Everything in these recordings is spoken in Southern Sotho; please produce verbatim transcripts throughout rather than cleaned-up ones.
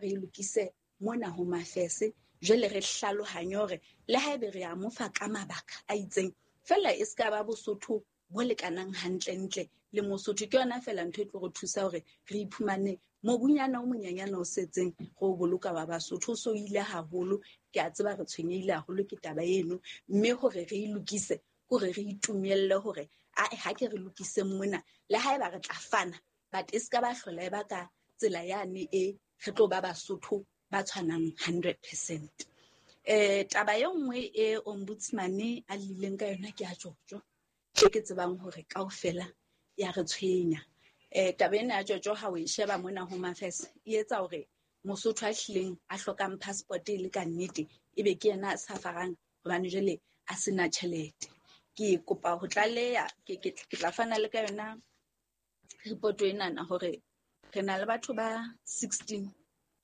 re e lokise mona Home Affairs. Jwale re hlalohanye hore le haebe re a mo fa ka mabaka a itseng, fela e ska ba Bosotho bo lekanang hantlentle le Mosotho. Ke yona fela ntho e tlo re thusa hore re iphumane mobunyana o monyenyana o setseng re o boloka wa Basotho. O so ile haholo, ke a tseba re tshwenyehile haholo ke taba eno, mme hore re e lokise kore re itumelle hore ae ha ke re lokise mona, le haeba re tla fana, but e ska ba hlola e ba ka tsela yane e re tlo ba Basotho ba tshwanang hundred percent. Eh, taba e nngwe e ombudsman a lileng ka yona ke ya Tjotjo, e ke tsebang hore kaofela ya re tshwenya. Eh, taba ena ya Tjotjo ha o e sheba mona Home Affairs, e etsa hore Mosotho a hlileng a hlokang passport e le ka nnete ebe ke yena a safarang hobane jwale a sena tjhelete. Ke kopa ho tlaleha, ke, ke, ke tla fana le ka yona report enana hore re na le batho ba sixteen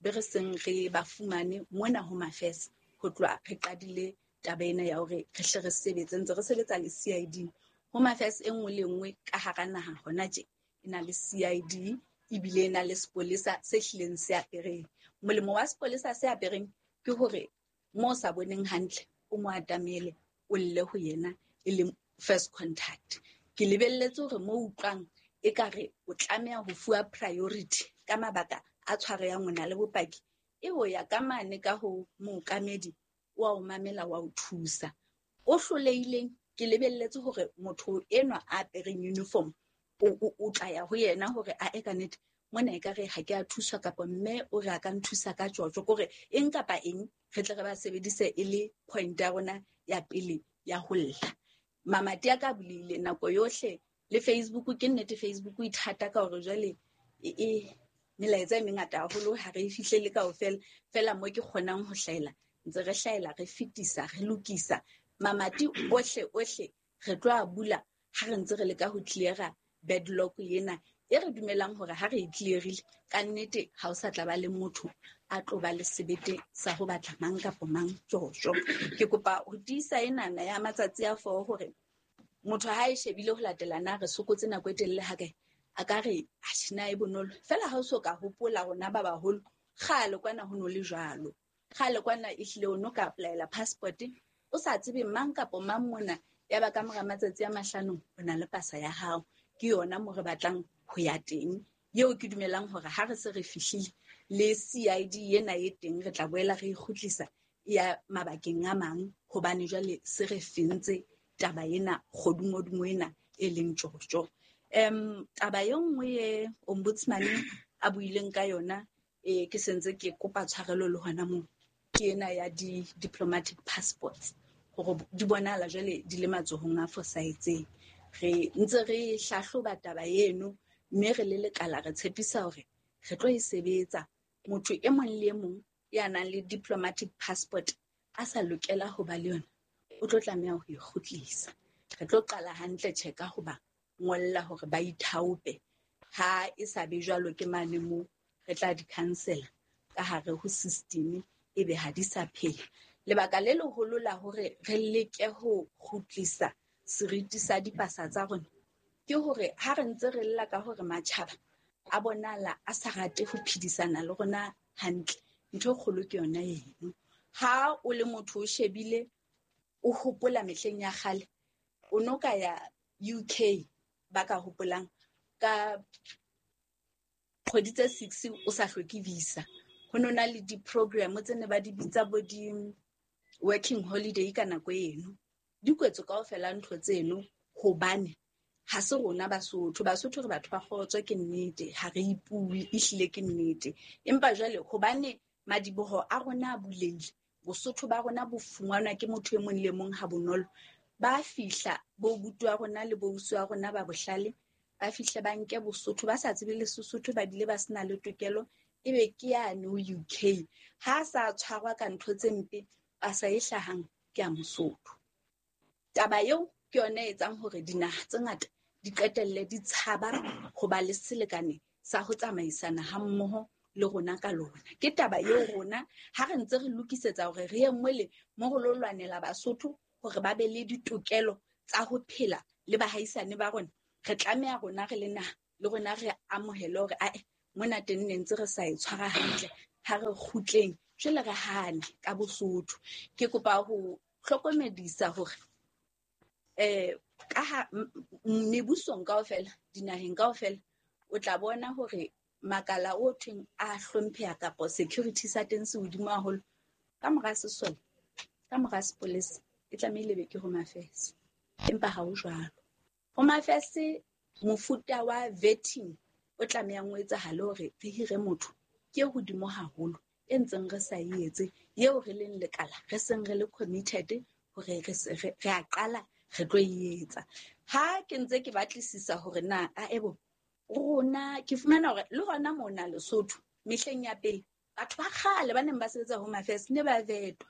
be re seng re ba fumane mona Home Affairs ho tloha re qadile taba ena ya hore re hle re sebetse, ntse re sebetsa le C I D. Home Affairs e nngwe le nngwe ka hara naha hona tje e na le C I D, ebile e na le sepolesa se hlileng se apereng. Molemo wa sepolesa se apereng ke hore mo o sa boneng hantle o mo atamele, o lle ho yena e leng first contact. Ke lebelletse hore mo utlwang ekare o tlameha ho fuwa priority ka mabaka a tshwaro ya ngwana le bopaki, e ho ya ka mane ka ho mookamedi wa o mamela wa o thusa. O hlolehileng, ke lebelletse hore motho enwa a apereng uniform o, o, o tla ya ho yena hore a e ka nnete mona ekare ha ke a thuswa, kapa mme o re a ka nthusa ka tjotjo, kore eng kapa eng re tle re ba sebedise e le point ya rona ya pele ya ho lla. Mamati a ka bulehile nako yohle le Facebook. Ke nnete Facebook e thata ka hore jwale e, e melaetsa e mengata haholo, ha re e fihlele kaofela. Fela mo ke kgonang ho hlahela, ntse re hlahela, re fetisa, re lokisa mamati ohle ohle re tlo a bula ha re ntse re leka ho clear-a backlog ena e re dumelang hore ha re e clear-ile ka nnete ha o sa tla ba le motho a tlo ba le sebete sa ho batla mang kapa mang tjotjo. Ke kopa ho tiisa enana ya matsatsi a four hore motho ha e shebile ho latela na re sokotse nako e telele ha kae, a ka re atjhe na e bonolo fela. Ha o so ka hopola rona ba baholo kgale kwana ho no le jwalo, kgale kwana ehlile o no ka apply-ela passport o sa tsebe mang kapa mang mona, ya ba ka mora matsatsi a mahlano o na le pasa ya hao. Ke yona mo re batlang ho ya teng, eo ke dumelang hore ha re se re fihlile le C I D ena e teng, re tla boela re e kgutlisa ya mabakeng a mang, hobane jwale se re fentse taba ena kgodumodumo ena e leng tjotjo. Em, taba e nngwe e ombudsman a buileng ka yona, e ke sentse ke kopa tshwarelo le hona moo, ke ena ya di-diplomatic passports, hore di bonahala jwale di le matsohong a fosahetseng. Re ntse re hlahloba taba eno, mme re le lekala re tshepisa hore re tlo e sebetsa. Motho e mong le e mong ya nang le diplomatic passport a sa lokela ho ba le yona, o tlo tlameha ho e kgutlisa. Re tlo qala hantle tjhe ka ho ba ngolla hore ba ithaope. Ha e sa be jwalo ke mane moo re tla di cancel-a ka hare ho system, ebe ha di sa phela. Lebaka le leholo la hore re leke ho kgutlisa seriti sa dipasa tsa rona ke hore ha re ntse re lla ka hore matjhaba a bonahala a sa rate ho phedisana le rona hantle, ntho e kgolo ke yona eno. Ha o le motho o shebile, o hopola mehleng ya kgale, o no ka ya U K ba ka hopolang ka kgwedi tse six o sa hloke visa. Ho no na le di-program tse ne ba di bitsa bo di-working holiday ka nako eno. Di kwetswe kaofela ntho tseno hobane ha se rona Basotho. Basotho re batho ba kgotso, ke nnete, ha re ipuwe, ehlile ke nnete. Empa jwale hobane madiboho a rona a bulehile, Bosotho ba rona bo fumanwa ke motho e mong le mong ha bonolo, ba fihla bo buti wa rona le bo ausi wa rona ba bohlale, ba fihle ba nke Bosotho, ba sa tsebe le Sesotho, ba bile ba sena le tokelo, ebe ke yane ho U K. Ha sa tshwarwa ka ntho tse mpe, pasa e hlahang ke ya Mosotho. Taba eo ke yona e etsang hore dinaha tse ngata di qetelle di tshaba ho ba le selekane sa ho tsamaisana ha mmoho le rona ka lona. Ke taba eo rona ha re ntse re lokisetsa hore re ye mole mo re lo lwanela Basotho hore ba be le ditokelo tsa ho phela le bahaisane ba rona, re tlameha rona re le naha le rona re amohele hore ae mona teng ne ntse re sa e tshwara hantle, Ha re kgutleng jwale re hane ka Bosotho. Ke kopa ho hlokomedisa hore eh ka ha mebusong kaofela, dinaheng kaofela, o tla bona hore makala o thweng a hlompheha kapa security sa teng se hodimo haholo. Ka mora sesole, ka mora sepolesa, e tlamehile be ke Home Affairs. Empa ha ho jwalo. Home Affairs mofuta wa vetting o tlamehang o etsahale hore re hire motho ke e hodimo haholo e ntseng re sa e etse, eo re leng lekala re seng re le committed hore re se re a qala re tlo e etsa. Ha ke ntse ke batlisisa hore na a ebo rona, ke fumana hore le hona mona Lesotho mehleng ya pele batho ba kgale ba neng ba sebetsa Home Affairs ne ba vetwa.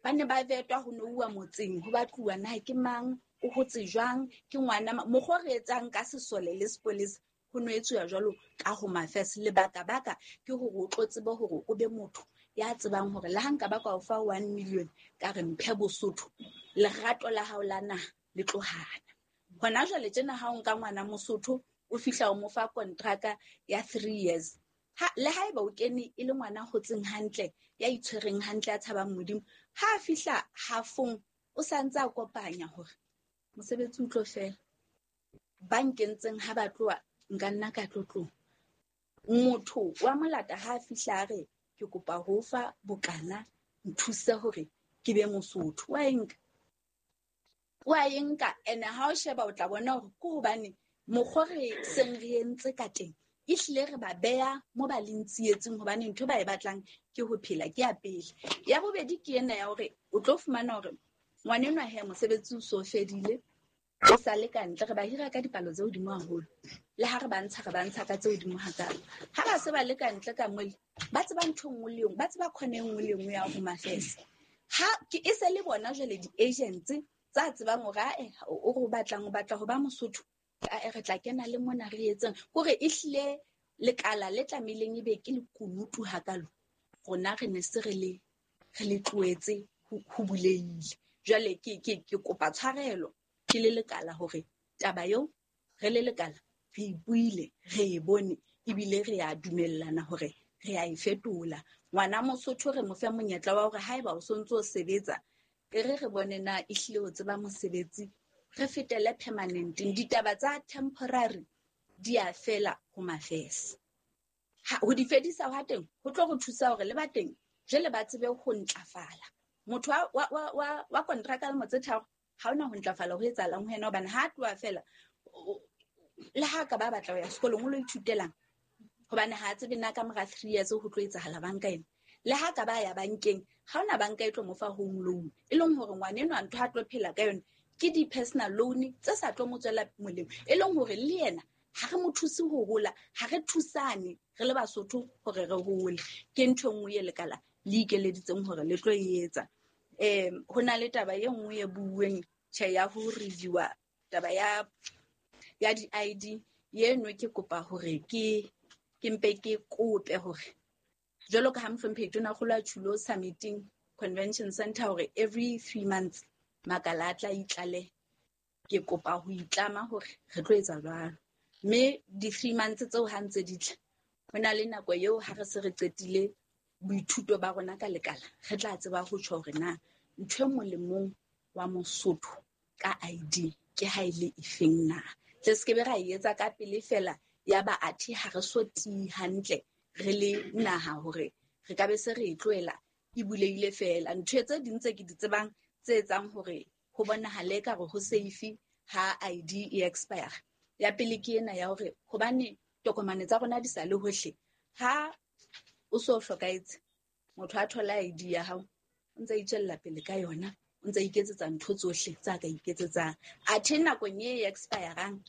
Ba ne ba vetwa ho nouwa motseng, ho batluwa na ke mang, o hotse jwang, ke ngwana mang. Mokgwa o re etsang ka sesole le sepolesa ho no etsuwa jwalo ka Home Affairs. Lebaka baka ke hore o tlo tsebe hore o be motho ya tsebang hore le ha nka ba ka o fa one million ka re mphe Bosotho, lerato la hao la naha le tlo hana. Hona jwale tjena ha o nka ngwana Mosotho o fihla o mo fa kontraka ya three years, ha le haeba o kene e le ngwana hotseng hantle, ya itshwereng hantle, ya tshabang Modimo, ha a fihla hafong o sa ntse a kopanya hore mosebetsi o tlo fela. Ba nkentseng ha ba tloha nka nna ka tlo tloha. Motho wa molata ha a fihla a re ke kopa ho fa bokana, nthuse hore ke be Mosotho, wa e nka, wa e nka. Ene ha o sheba o tla bona hore ke hobane mokgwa re seng re entse ka teng ehlile re ba beha mo ba leng tsietsing, hobane ntho ba e batlang ke ho phela, ke ya pele. Ya bobedi ke ena ya hore o tlo fumana hore ngwanenwa he mosebetsi o so fedile, o sa le ka ntle, re ba hira ka dipalo tse hodimo haholo. Le ha re ba ntsha, re ba ntsha ka tse hodimo hakalo. Ha ba se ba le ka ntle ka mole, ba tseba ntho e nngwe le e nngwe, ba tseba khona e nngwe le e nngwe ya Home Affairs. Ha ke e se le bona jwale di-agents tsa tsebang hore ae, o re o batlang, o batla ho ba Mosotho, ae, re tla kena le mona re etseng. Hore ehlile lekala le tlamehileng ebe ke lekunutu hakalo, rona re ne se re le, re le tlohetse ho, ho bulehile. Jwale ke, ke, ke kopa tshwarelo ke le lekala hore taba eo re le lekala re e buile, re e bone, ebile re a dumellana hore re a e fetola. Ngwana Mosotho re mo fe monyetla wa hore haeba o sontso o sebetsa, e re re bone na ehlile o tseba mosebetsi, re fetele permanenteng. Ditaba tsa temporary di a fela Home Affairs. Ha ho di fedisa hwa teng, ho tlo re thusa hore le ba teng jwale ba tsebe ho ntlafala. Motho wa, wa, wa, wa, wa kontraka lemo tse tharo ha hona ho ntlafala ho etsahalang ho yena, hobane ha a tloha fela, o, le ha ka ba batla ho ya sekolong o lo ithutelang, hobane ha a tsebe na ka mora three years ho tlo etsahala banka ena. Le ha ka ba ya bankeng, ha hona banka e tlo mo fa home loan, e leng hore ngwana enwa ntho a tlo phela ka yona ke di-personal loan tse sa tlo mo tswela molemo, e leng hore le yena ha re mo thuse ho hola, ha re thusane re le Basotho hore re hole. Ke ntho e nngwe e lekala le ikeleditseng hore le tlo e etsa. Em, ho na le taba e nngwe e buuweng tjhe ya ho review-a taba ya, ya di-I D eno, ke kopa hore ke, ke mpe ke kope hore jwalo ka ha mohlomphehi Tonakgolo a tjhulo summiting convention center hore every three months makala a tla itlale, ke kopa ho itlama hore re tlo etsa jwalo. Mme di-three months tseo ha ntse di tla, ho na le nako eo ha re se re qetile boithuto ba rona ka lekala, re tla tseba ho tjho hore na ntho e molemong wa Mosotho ka I D ke ha e le efeng na. Tle se ke be ra e etsa ka pele fela ya ba athe ha re so tiye hantle re le naha hore re ka be se re e tlohela e bulehile fela. Ntho tse ding tse ke di tsebang tse etsang hore ho bonahale ekare ho safe ha I D e expire, ya pele ke ena ya hore hobane tokomane tsa rona di sa le hohle, ha o so hlokahetse motho a thola I D ya hao, o ntse a itswella pele ka yona, o ntse a iketsetsa ntho tsohle tsa ka iketsetsang. Athe nakong e expirang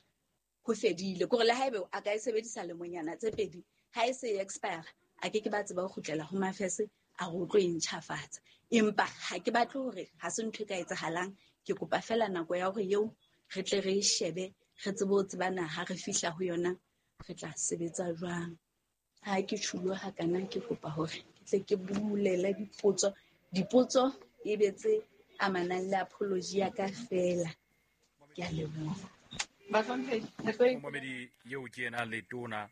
ho fedile, kore le haebe a ka e sebedisa lemonyana tse pedi, ha e se e expire a ke ke ba tseba ho kgutlela ho Mafese a re o tlo e ntjhafatsa. Empa ha ke batle hore ha se ntho e ka etsahalang, ke kopa fela nako ya hore eo re tle re e shebe, re tsebe ho tsebana ha re fihla ho yona re tla sebetsa jwang. Ha ke tjhulo hakana, ke kopa hore ke tle ke bulele dipotso, dipotso e be tse amanang le apology ya ka fela. Ke a leboha. Momamedi eo ke ena Letona